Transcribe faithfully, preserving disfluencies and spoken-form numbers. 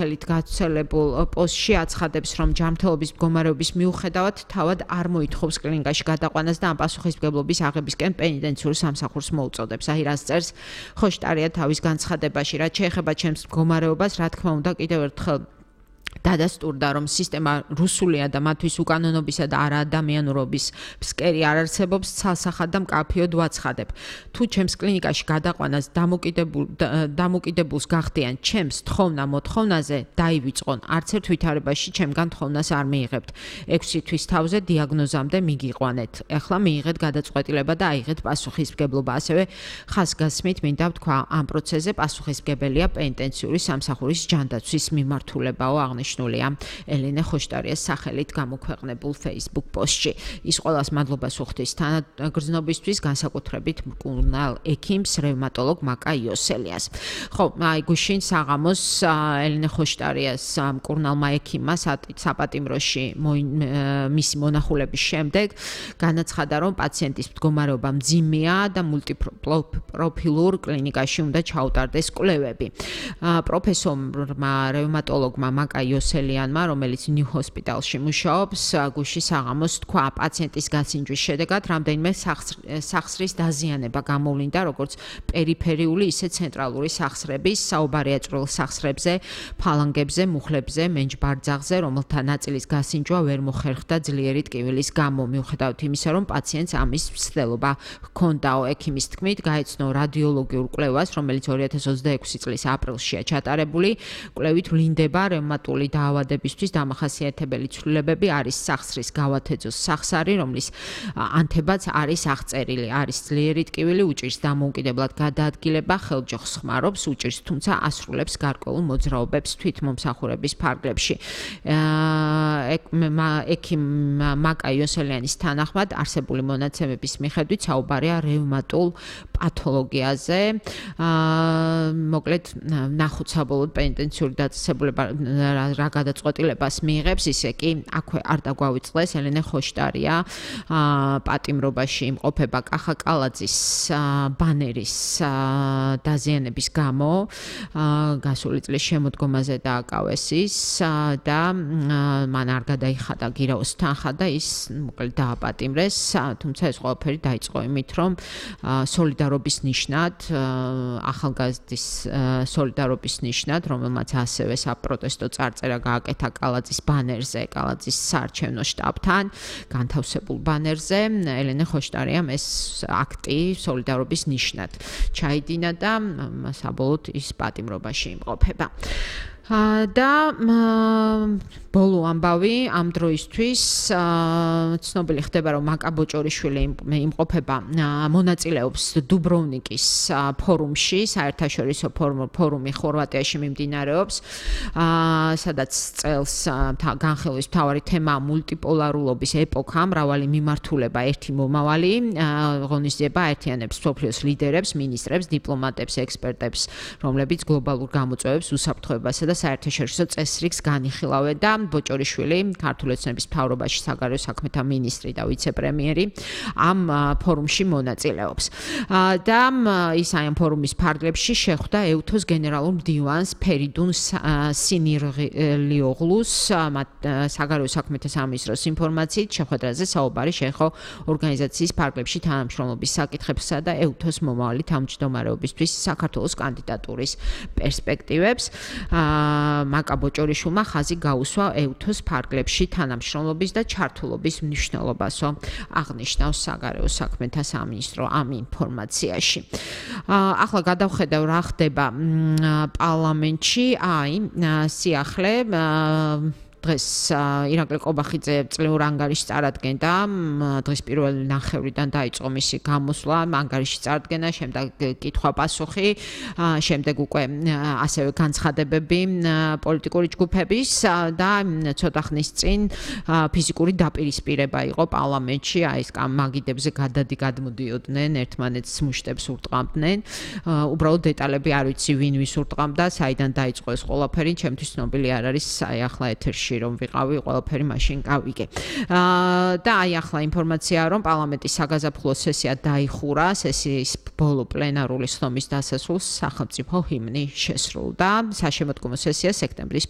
ხელით გაცელებულ პოსტში აცხადებს, რომ ჯანმრთელობის მდგომარეობის მიუხედავად თავად არ მოითხოვს კლინიკაში გადაყვანას და ამ პასუხისმგებლობის აღებისკენ პენიტენციურ სამსახურს მოუწოდებს. აი რას წერს ხოშტარია თავის განცხადებაში, რაც შეეხება ჩემს მდგომარეობას, რა თქმა უნდა, კიდევ ერთხელ დადასტურდა, რომ სისტემა რუსულია და მათთვის უკანონობისა და არაადამიანურობის ფსკერი არ არსებობს, ცალსახად და მკაფიოდ ვაცხადებ. თუ ჩემს კლინიკაში გადაყვანას დამოკიდებულ დამოკიდებულს გახდიან ჩემს თხოვნა მოთხოვნაზე, დაივიწყონ. არც ერთ ვითარებაში ჩემგან თხოვნას არ მიიღებთ. ექვსი თვის თავზე დიაგნოზამდე მიგიყვანეთ. ეხლა მიიღეთ გადაწყვეტილება და აიღეთ პასუხისმგებლობა. ასევე ხაზგასმით მინდა ვთქვა, ამ პროცესზე პასუხისმგებელია პენიტენციური სამსახურის ჯანდაცვის მიმართულებაო აღნიშნულია ელენე ხოშტარიას სახელით გამოქვეყნებულ Facebook პოსტში. ის ყველას მადლობას უხდის თანაგრძნობისთვის, განსაკუთრებით მკურნალ ექიმს, რევმატოლოგ მაკა იოსელიას. ხო, აი გუშინ საღამოს ელენე ხოშტარიას მკურნალმა ექიმმა საპატიმროში მისი მონახულების შემდეგ განაცხადა, რომ პაციენტის მდგომარეობა მძიმეა და მულტიპროფილურ კლინიკაში უნდა ჩაუტარდეს კვლევები. პროფესორმა რევმატოლოგმა მაკა იოსელიანმა, რომელიც ნიუ ჰოსპიტალში მუშაობს, გუშინ საღამოს თქვა, პაციენტის გასინჯვის შედეგად რამდენიმე სახსრის დაზიანება გამოვლინდა, როგორც პერიფერიული, ისე ცენტრალური სახსრების, საუბარია წვრილ სახსრებზე, ფალანგებზე, მუხლებზე, მენჯბარძაღზე, რომელთა ნაწილის გასინჯვა ვერ მოხერხდა ძლიერი ტკივილის გამო. მიუხედავად იმისა, რომ პაციენტს ამის მცდელობა ჰქონდაო, ექიმის თქმით, გაეცნო რადიოლოგიურ კვლევას, რომელიც ორი ათას ოცდაექვსი წლის აპრილშია ჩატარებული. კვლევით ვლინდება რევმატული დაავადებისთვის დამახასიათებელი ცვლილებები, არის სახსრის გავათეძოს სახსარი, რომლის ანთებაც არის აღწერილი, არის ძლიერი ტკივილი, უჭირს დამოუკიდებლად გადაადგილება, ხელჯოხს ხმარობს, უჭირს, თუმცა ასრულებს გარკვეულ მოძრაობებს თვითმომსახურების ფარგლებში. ექიმ მაკა იოსელიანის თანახმად, არსებული მონაცემების მიხედვით საუბარია რევმატულ პათოლოგიაზე. მოკლედ, ნახოთ საბოლოოდ პენიტენციური დაწესებულება რა გადაწყვეტილებას მიიღებს, ისე კი აქვე არ დაგვავიწყდეს ელენე ხოშტარია პატიმრობაში იმყოფება კახა კალაძის ბანერის დაზიანების გამო, გასული წლის შემოდგომაზე დააკავეს ის და მან არ გადაიხადა გირაოს თანხა და ის მოკლედ დააპატიმრეს, თუმცა ეს ყველაფერი დაიწყო იმით, რომ სოლიდარობის ნიშნად, ახალგაზრდის სოლიდარობის ნიშნად, რომელმაც ასევე საპროტესტო წარწერა გააკეთა კალაძის ბანერზე, კალაძის საარჩევნო შტაბთან, განთავსებულ ბანერზე, ელენე ხოშტარიამ ეს აქტი სოლიდარობის ნიშნად ჩაიდინა და საბოლოოდ ის პატიმრობაში იმყოფება. და ბოლო ამბავი ამ დროისთვის ცნობილი ხდება, რომ მაკა ბოჭორიშვილი იმყოფება, მონაწილეობს დუბროვნიკის ფორუმში, საერთაშორისო ფორუმი ხორვატიაში მიმდინარეობს, სადაც წელს განხილვის მთავარი თემაა მულტიპოლარულობის ეპოქა, მრავალი მიმართულება, ერთი მომავალი, ღონისძიება აერთიანებს მსოფლიოს ლიდერებს, მინისტრებს, დიპლომატებს, ექსპერტებს, რომლებიც გლობალურ გამოწვევებს, უსაფრთხოებასა და საერთაშორისო წესრიგს განიხილავენ და ბოჭორიშვილი, ქართული ოცნების მთავრობაში საგარეო საქმეთა მინისტრი და ვიცე-პრემიერი, ამ ფორუმში მონაწილეობს. და ის ამ ფორუმის ფარგლებში შეხვდა ეუთოს გენერალურ მდივანს ფერიდუნ სინირლიოღლუს, საგარეო საქმეთა სამინისტროს ინფორმაციით, შეხვედრაზე საუბარი შეეხო ორგანიზაციის ფარგლებში თანამშრომლობის საკითხებსა და ეუთოს მომავალი თავმჯდომარეობისთვის საქართველოს კანდიდატურის პერსპექტივებს. მაკა ბოჭორიშვილმა ხაზი გაუსვა ეუთოს ფარგლებში თანამშრომლობის და ჩართულობის მნიშვნელობასო აღნიშნავს საგარეო საქმეთა სამინისტრო ამ ინფორმაციაში. ახლა გადავხედავ რა ხდება პარლამენტში, აი სიახლე დღეს ირაკლი ყობახიძე წლიურ ანგარიშს წარადგენდა, დღის პირველი ნახევრიდან დაიწყო მისი გამოსვლა, ანგარიში წარდგენა, შემდეგ კითხვა-პასუხი, შემდეგ უკვე ასევე განცხადებები პოლიტიკური ჯგუფების და ცოტა ხნის წინ ფიზიკური დაპირისპირება იყო პარლამენტში, აი ეს მაგიდებზე გადადი გადმოდიოდნენ, ერთმანეთს მუშტებს ურტყამდნენ, უბრალოდ დეტალები არ ვიცი ვინ ვის ურტყამდა, საიდან დაიწყო ეს ყველაფერი, ჩემთვის ცნობილი არ არის, აი ახლა ეთერში სივრცეში რომ ვიყავი, ყველაფერი მაშინ გავიგე. და აი ახლა ინფორმაციაა, რომ პარლამენტის საგაზაფხულო სესია დაიხურა, სესიის ბოლო პლენარული სხდომის დასასრულს სახელმწიფო ჰიმნი შესრულდა. საშემოდგომო სესია სექტემბრის